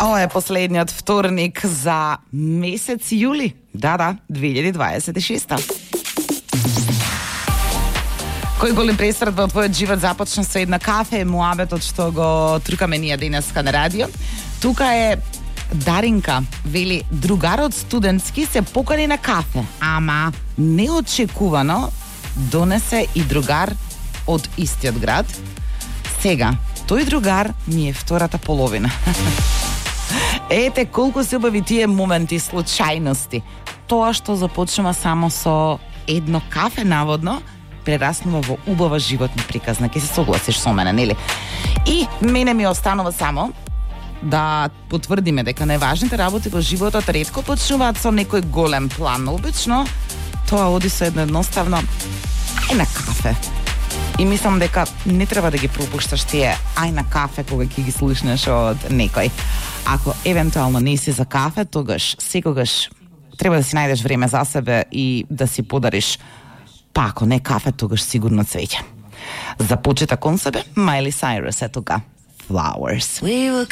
Ова е последниот вторник за месец јули. Да, 2026. Кој голем престрат во твојот живот започна со една кафе, муабетот што го трукаме ние денеска на радио. Тука е Даринка, вели, другарот студентски се покани на кафе, ама неочекувано донесе и другар од истиот град. Сега, тој другар ми е втората половина. Ете колку се убави тие моменти, случајности. Тоа што започнува само со едно кафе, наводно, прераснува во убава животна приказна. Ке се согласиш со мене, нели? И мене ми останува само да потврдиме дека најважните работи во животот ретко почнуваат со некој голем план. Обично тоа оди со едноставно ај на кафе. И мислам дека не треба да ги пропушташ тие ај на кафе кога ќе ги слушнеш од некој. Ако евентуално не си за кафе, тогаш секогаш треба да си најдеш време за себе и да си подариш, па ако не кафе, тогаш сигурно цвеќе. За почета кон себе, Майли Сайрус е тука. Flowers. We were